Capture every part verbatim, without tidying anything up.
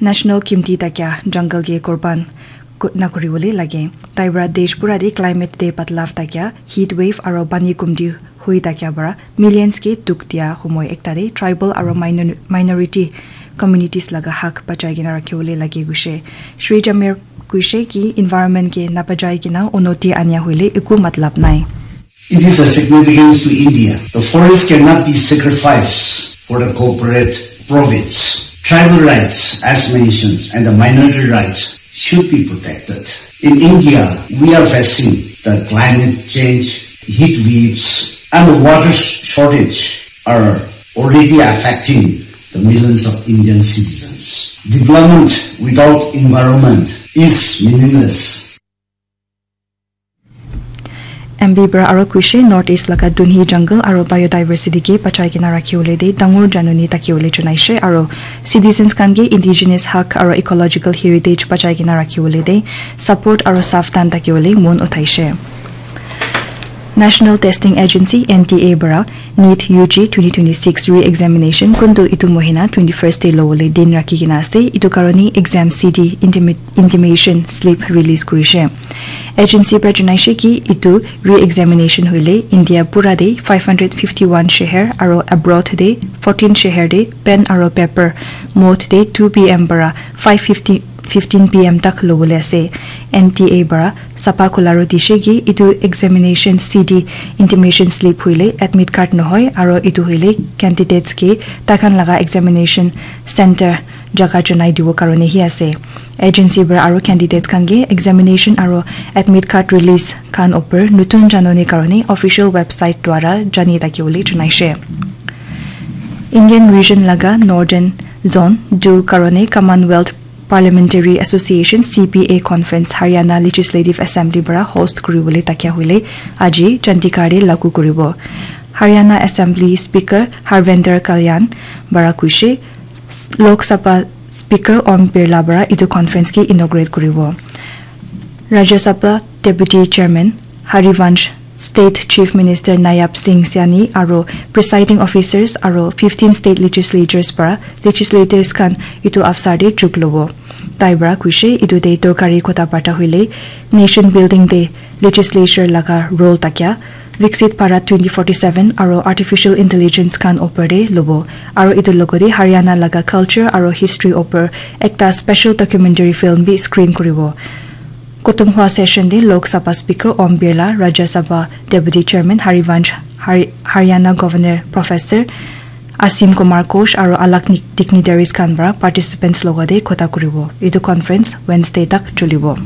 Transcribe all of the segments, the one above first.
National Kimti Takya Jungle ke Korban ku- na kuri bole lage. Tai para desh pura de climate de badlav takya, heat wave aro pani kumti hui takya para millions ke dukh dia humoi ekta de tribal aro minor- minority communities laga hak bachai kena rakhi bole lage gushe. Shri Jamir kuishe ki environment ke napajai kena unoti ania huile eku matlab nai. It is a significance to India. The forest cannot be sacrificed for the corporate profits. Tribal rights, as mentioned, and the minority rights should be protected. In India, we are facing the climate change, heat waves, and the water sh- shortage are already affecting the millions of Indian citizens. Development without environment is meaningless. M B Bra aro kuishe North East laga dunhi jungle aro biodiversity ke bachai kena rakhi bole de dangor januni thaki bole junaishe aro citizens khan ke indigenous hak aro ecological heritage bachai kena rakhi bole de support aro savdhan thaki bole mon uthaishe. National Testing Agency N T A bara NEET U G twenty twenty-six re-examination kuntu itu mohina twenty-first te lobole din rakhi kena ase. Itu karone exam C D intimi- intimation slip release kurishe. Agency para janaishe ki itu re-examination hoile India pura de five hundred fifty-one sheher aro abroad de fourteen sheher de pen aro paper mode de two P M para five fifty fifteen P M tak lobole ase. N T A bara sapa khularo dishe ki itu examination C D intimation slip hoile admit card nohoi aro itu hoile candidates ke takhan laga examination center jaga chunai dibo karone hi ase. Agency para aro candidates khan ke examination aro admit card release khan upor nutun janoni karone official website dwara jani thaki bole junaishe. Indian region laga Northern Zone du karone Commonwealth Parliamentary Association C P A Conference Haryana Legislative Assembly bara host kuribole takia hoile aji Chandigarh te lagu kuribo. Haryana Assembly Speaker Harvendra Kalyan bara kuishe Lok Sabha Speaker Om Birla bara itu conference ke inaugurate kuribo. Rajya Sabha Deputy Chairman Harivansh, State Chief Minister Nayab Singh Saini aro presiding officers aro fifteen state legislatures para legislators khan itu avsar te jug lobo. Tai para kuishe itu te dorkari kotha barta hoile nation building te legislature laga role takia Viksit Bharat twenty forty-seven aro artificial intelligence khan opor te lobo aro itu logote Haryana laga culture aro history opor ekta special documentary film bi screen kuribo. Kotom hua session te Lok Sabha Speaker Om Birla, Rajya Sabha Deputy Chairman Harivansh, Hari- Haryana Governor Professor Asim Kumar Ghosh aro alak ni- dignitaries khan para participants logote kotha kuribo. Itu conference Wednesday tak chulibo.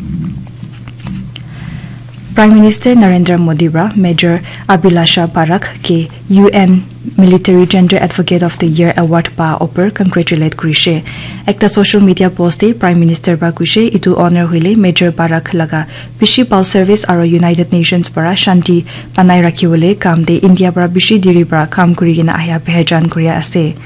Prime Minister Narendra Modi para Major Abhilasha Barak ke U N Military Gender Advocate of the Year Award pa opor congratulate kurishe. Ekta social media post te Prime Minister para kuishe itu honor hoile Major Barak laga bishi bhal service aro United Nations para shanti banai rakhibole kam te India para bishi diri para kam kuri kena ahia pehejan kuri ase.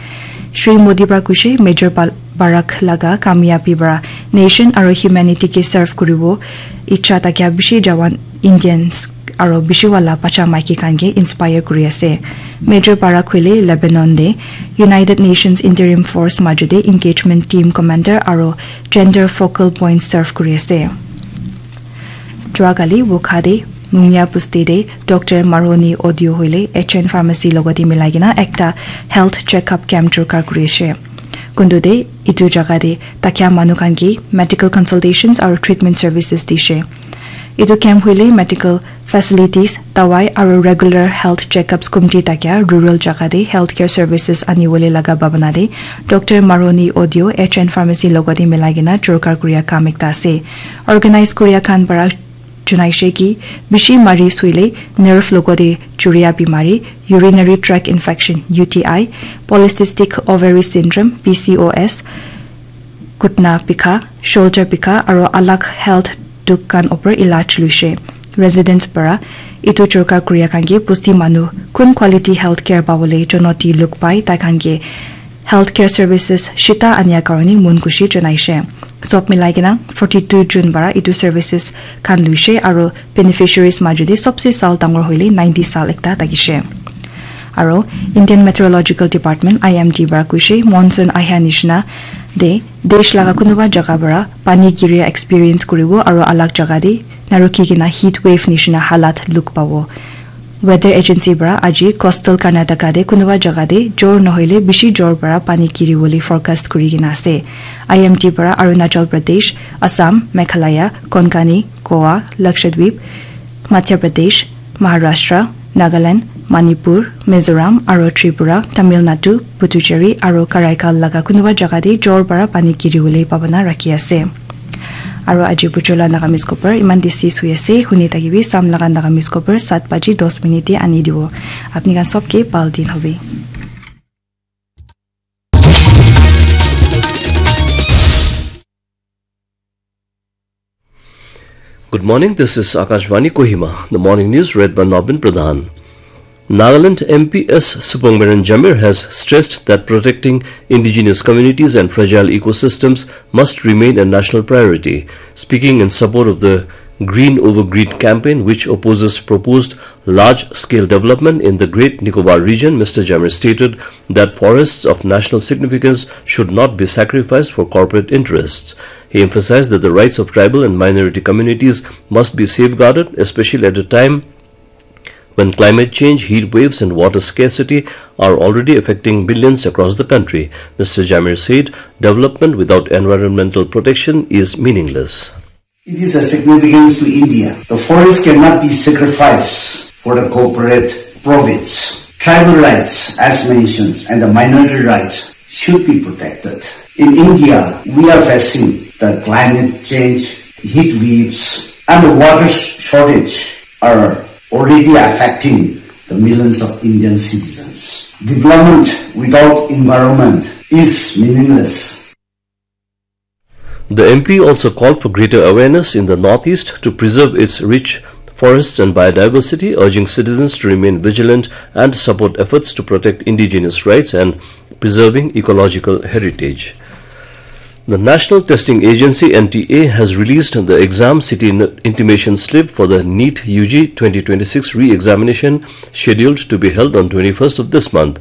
Shri Modi para kuishe Major Bal- Barak laga kamiyabi para nation aro humanity ke serve kuribo ichha thakia bishi jawan Indians aro bishi wala bacha maiki khan ke inspire kuri ase. Major Barak hoile Lebanon te United Nations Interim Force majo te engagement team commander aro gender focal point serve kuri ase. Jua kali Wokha te Mungya Busti te Doctor Maroni Audio hoile H N Pharmacy logote milai kena ekta health checkup camp jorkar kuri ase. Kuntu te itu jaga te thakia manu khan ke medical consultations aro treatment services dishe. Itu camp hoile medical facilities, dawai aro regular health checkups kumti thakia rural jaga te healthcare services anibole laga bhabana te Doctor Maroni Audio H N Pharmacy logote milai kena jorkar kuria kam ekta ase. Organize kuria khan para junaishe ki bishi maris hoile nerve logote juria bimari, urinary tract infection, U T I, polycystic ovary syndrome, P C O S, gutna bikha, shoulder bikha aro alag health dukh khan opor ilaj luishe. Residents para itu jorkar kuria khan ke busti manu kun quality health care pabole jonoti luk pai tai khan ke healthcare services shita ania karone mon khushi janaishe. Sob milai kena forty-two June para itu services khan luishe aro beneficiaries majo te sobse sal dangor hoile ninety sal ekta thakishe. Aro Indian Meteorological Department, I M D, para koishe, monsoon ahia nishina de desh laga kunuba jaga para pani giria experience kuribo aro alag jaga de narukhi kena heat wave nishina halat look pabo. Weather Agency para aji coastal Karnataka de kunuba jaga de jor nohoile bishi jor para pani giri bole forecast kuri kena ase. I M D para Arunachal Pradesh, Assam, Meghalaya, Konkani, Goa, Lakshadweep, Madhya Pradesh, Maharashtra, Nagaland, Manipur, Mizoram aro Tripura, Tamil Nadu, Puducherry aro Karaikal laga kunuba jaga de jor para pani giri bole pabana rakhi ase. Aro aji bujola Nagamese khobor iman de ses hui ase, huni thakibi Sam laga Nagamese khobor sat baji dos minute te ani dibo. Apni khan sob ke bhal din hobe. Good morning, this is Akashvani Kohima. The morning news read by Nobin Pradhan. Nagaland M P S Subrahmanian Jamir has stressed that protecting indigenous communities and fragile ecosystems must remain a national priority. Speaking in support of the Green Over Greed campaign, which opposes proposed large-scale development in the Great Nicobar region, Mister Jamir stated that forests of national significance should not be sacrificed for corporate interests. He emphasized that the rights of tribal and minority communities must be safeguarded, especially at a time when climate change, heat waves, and water scarcity are already affecting millions across the country. Mister Jamir said, "Development without environmental protection is meaningless." It is a significance to India. The forest cannot be sacrificed for the corporate profits. Tribal rights, as mentioned, and the minority rights should be protected. In India, we are facing the climate change, heat waves, and the water sh- shortage are already affecting the millions of Indian citizens. Development without environment is meaningless. The M P also called for greater awareness in the Northeast to preserve its rich forests and biodiversity, urging citizens to remain vigilant and support efforts to protect indigenous rights and preserving ecological heritage. The National Testing Agency, N T A, has released the exam city n- intimation slip for the NEET U G twenty twenty-six re-examination scheduled to be held on twenty-first of this month.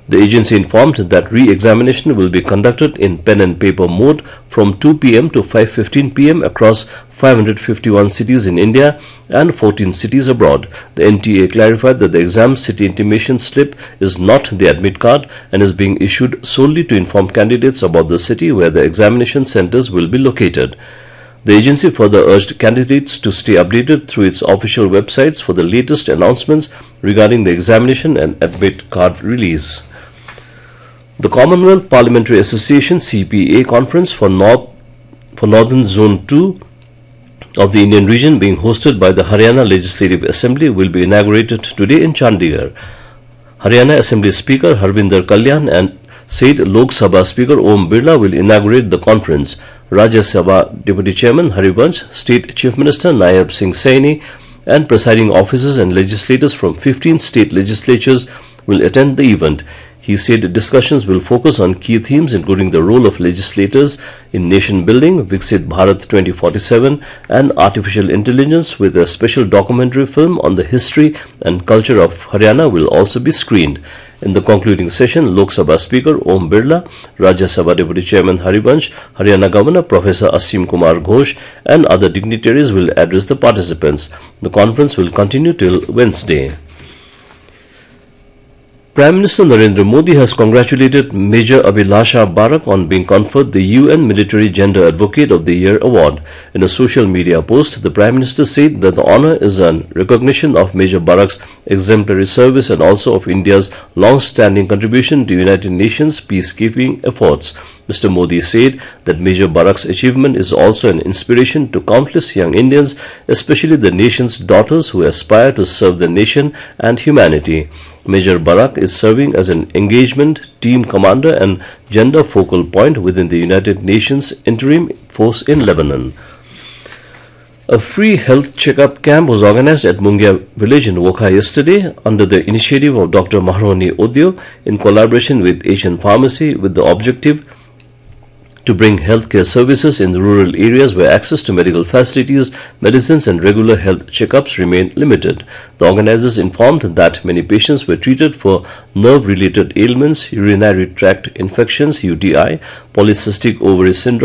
The agency informed that re-examination will be conducted in pen and paper mode from two p m to five fifteen p m across five hundred fifty-one cities in India and fourteen cities abroad. The N T A clarified that the exam city intimation slip is not the admit card and is being issued solely to inform candidates about the city where the examination centers will be located. The agency further urged candidates to stay updated through its official websites for the latest announcements regarding the examination and admit card release. The Commonwealth Parliamentary Association C P A conference for North for Northern Zone two of the Indian region, being hosted by the Haryana Legislative Assembly, will be inaugurated today in Chandigarh. Haryana Assembly Speaker Harvinder Kalyan and said Lok Sabha Speaker Om Birla will inaugurate the conference. Rajya Sabha Deputy Chairman Harivansh, State Chief Minister Nayab Singh Saini, and presiding officers and legislators from fifteen state legislatures will attend the event. He said discussions will focus on key themes including the role of legislators in nation building, Viksit Bharat twenty forty-seven, and artificial intelligence, with a special documentary film on the history and culture of Haryana will also be screened. In the concluding session, Lok Sabha Speaker Om Birla, Rajya Sabha Deputy Chairman Harivansh, Haryana Governor Professor Asim Kumar Ghosh, and other dignitaries will address the participants. The conference will continue till Wednesday. Prime Minister Narendra Modi has congratulated Major Abhilasha Barak on being conferred the U N Military Gender Advocate of the Year Award. In a social media post, the Prime Minister said that the honor is a recognition of Major Barak's exemplary service and also of India's long-standing contribution to United Nations peacekeeping efforts. Mister Modi said that Major Barak's achievement is also an inspiration to countless young Indians, especially the nation's daughters who aspire to serve the nation and humanity. Major Barak is serving as an engagement team commander and gender focal point within the United Nations interim force in Lebanon. A free health checkup camp was organized at Mungia village in Wokha yesterday under the initiative of Doctor Maharoni Odio in collaboration with Asian Pharmacy, with the objective to bring healthcare services in rural areas where access to medical facilities, medicines, and regular health checkups remain limited. The organizers informed that many patients were treated for nerve related ailments, urinary tract infections, U T I, polycystic ovary syndrome,